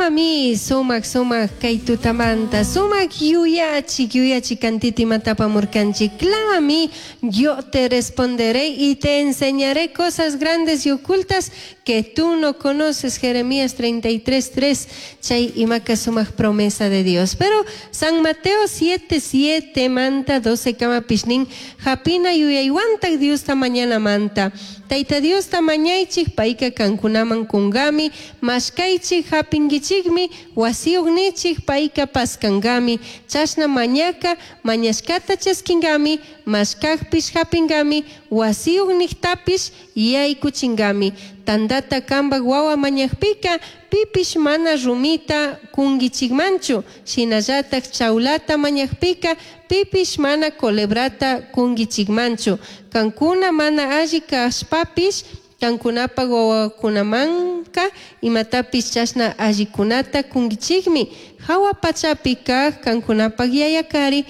Clamami sumak sumak kay tutamanta sumak yuyachik yuyachik kantita imata apamurkanchik. Clámame, yo te responderé y te enseñaré cosas grandes y ocultas que tú no conoces. Jeremías 33:3. Chay imaka sumak promesa de Dios. Pero San Mateo 7:7 manta 12 kamapish nin japina yuyaywantak Diosta mañanamanta. Taita Diosta mañaichik payka kankunaman kungami, mashkaychik japinkichikmi, wasiyuq nichik payka paskankami, chashna mañaka mañashkata chaskinkami, mashkakpish japingami, wasiyuq niktapish yaykuchinkami. Tandata kambak wawa mañakpika pipish mana rumita kunkichikmanchu, shinallatak chawlata mañakpika pipish mana colebrata kunkichikmanchu. Kankuna mana alli kashpapish kankunapak wawakunamanka imatapish chashna allikunata kunkichikmi. Hawa pachapi kak kankunapak yayakari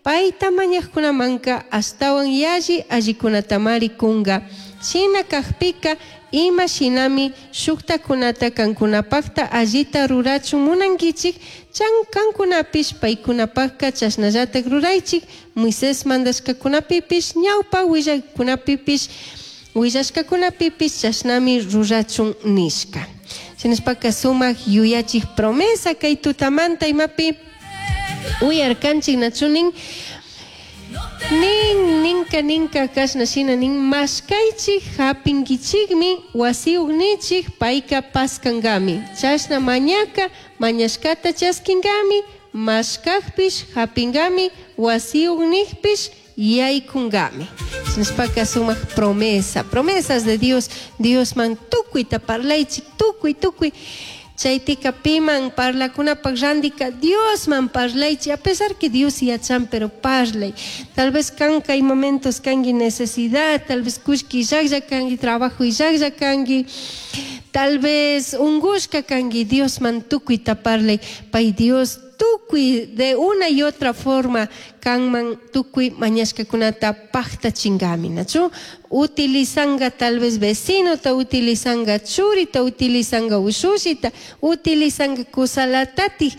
payta mañakkunamanka ashtawan yalli allikunatamari kunka. Shina kakpika ima shinami shuktakunata kankunapakta allita rurachun munankichik, chan kankunapish paykunapakka chashnallatak ruraychik. Moisés mandashkakunapipish ñawpa willakunapipish willashkakunapipish chashnami rurachun nishka. Shinashpaka sumak yuyachik promesa kay tutamanta imapi uyarkanchik nachu nin nin ninka ninka kashna shina nin mashkaychik japinkichikmi wasiyuq nichik payka paskankami chashna mañaka mañashkata chaskinkami mashkakpish japingami wasiyuq nikpish yaykunkami. Shinashpaka sumak promesa, promesas de Dios, Diosman tukuyta parlaychik tukuy tukuy chaytika piman parlakunapak randika Diosman parlaychik, a pesar que Dios yachan, pero parlay. Tal vez kanka hay momentos kanki necesidad, tal vez kullki illaklla kanki, trabajo illaklla kanki, tal vez ungushka kanki, Diosman tukuyta parlay, pay Dios tukuy de una y otra forma kanman tukuy mañashkakunata paktachingami, nachu? Utilizanga tal vez vecinota, utilizanga churita, utilizanga ushushita, utilizanga kusalatatik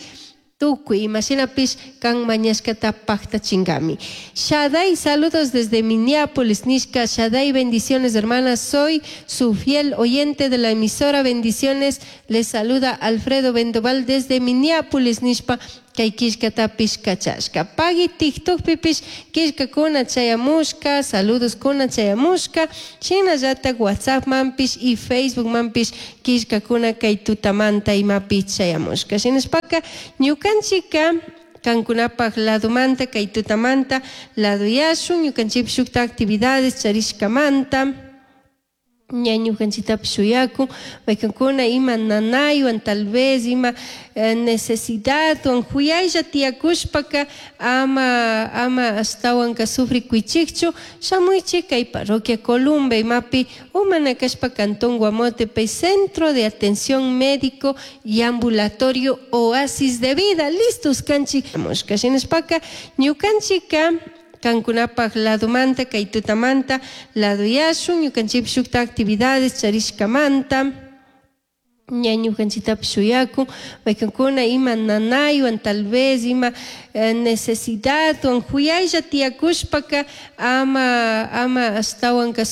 tukuy imashinapish kan mañashkata paktachingami. Shaday, saludos desde Minneapolis, nishka. Shaday, bendiciones, hermanas. Soy su fiel oyente de la emisora. Bendiciones. Les saluda Alfredo Vendoval desde Minneapolis, nishpa. Kay killkatapish kachashka. Pagui TikTokpipish killkakuna chayamushka, saludos kuna chayamushka, shinallatak WhatsAppmanpish y Facebookmanpish killkakuna kay tutamanta imapi chayamushka. Shinashpaka ñukanchika kankunapak ladomanta kay tutamanta laduyashun ñukanchikpish shukta actividades charishkamanta ña ñukanchiktapish shuyakun maykankuna ima nanaywan tal vez ima necesidadwan juyaylla tiyakushpaka ama ama ashtawanka sufrikuychikchu shamuychik kay parroquia Columba imapi o mana kashpa cantón Guamote Centro de Atención Médico y Ambulatorio Oasis de Vida. Listos kanchik shinashpaka ñukanchika kankunapak ladomanta kay tutamanta laduyashun ñukanchikpish shukta actividades charishkamanta ña ñukanchiktapish shuyakun maykankuna ima nanaywan tal vez ima necesidadwan juyaylla tiyakushpaka ama ama ashtawanka.